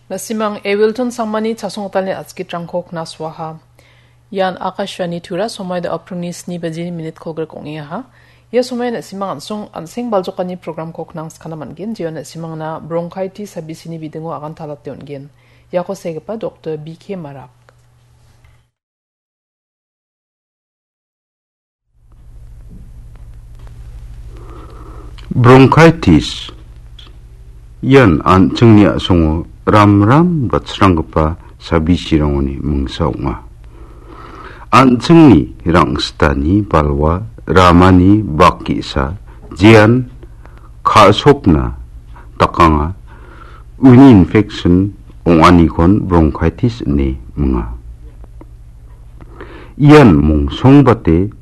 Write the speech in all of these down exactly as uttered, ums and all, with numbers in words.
Na·simang Ewilton Sangmani chasonggitalni a·skitrangko knaswaha. Ian Akashvani Tura, somoian aprilni sni bajini minit kolgrik ong·engaha. Ia somoian na·simang an·song an·seng baljokani programko knangskana man·gen, jeon na·simangna bronchitis sabisini bidingo agantalate on·gen. Iako segipa Doktor B K Marak. Bronchitis ian an·chingni a·songo ramram batsranggipa sabisirangoni mingsa ong·a. An·chingni rang·sitani balwa ramani bak ge·sa, jean ka·sokna dakanga, uni infection ong·anikon bronchitis ine minga. Ian mongsongbate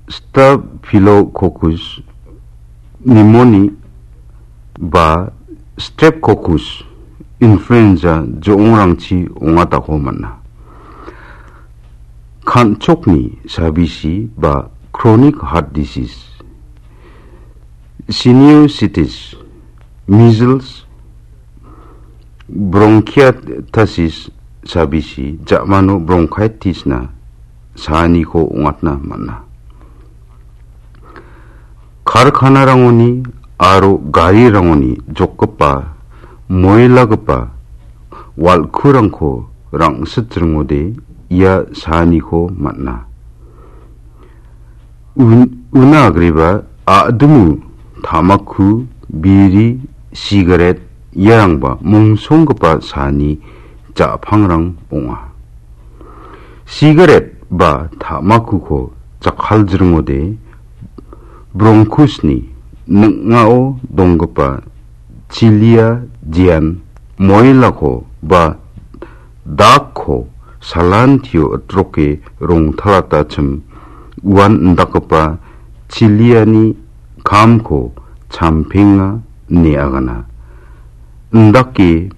Staphylococcus pneumoniae ba Streptococcus influenza jo·ongrangchi ong·atako man·a. Kan·chokni sabisi ba chronic heart disease, sinusitis, measles, bronchiectasis sabisi ja·mano bronchitisna saaniko ong·atna man·a. Karkanarangoni aro garirangoni jokgipa, moilagipa wal·kurangko rang·sitringode ia saaniko man·a. Un-, una agreba a·dimo, tamaku, biri, sigaret, iarangba mongsonggipa saani ja·pangrang ong·a. Sigaret ba tamakuko jakkaljringode bronchusni ning·ao donggipa chilia jean moilako ba dakko salantio itroke rongtalatachim uan indakgipa chiliani kamko champenga ine agana. Indake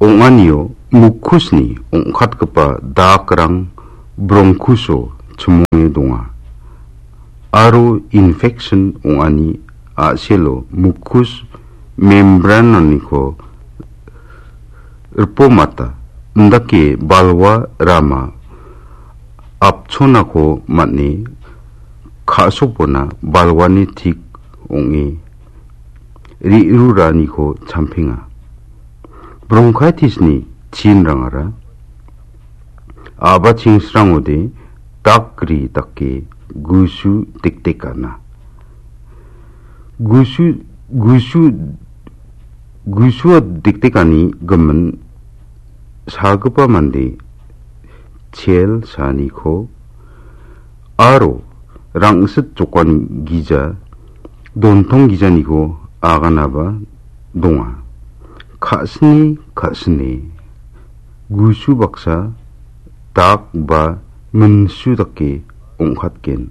ong·anio mukusni ong·katgipa dakrang bronchuso chimonge donga. Aro infection ong·ani a·selo mukus membranoniko ripomata, indake balwa rama apchonako man·e ka·sokbona balwani tik ong·e re·ruraniko champenga. Bronchitisni chinrangara a·bachingsrangode dakri dake gusu dekdekana. Gusu, gusu, gusua dekdekani gimin sagipa mande chel saaniko aro rangsit jokani gija, dontong gijaniko aganaba donga. Ka·sini ka·sini gusu baksa dak ba minsu dake ong·katgen.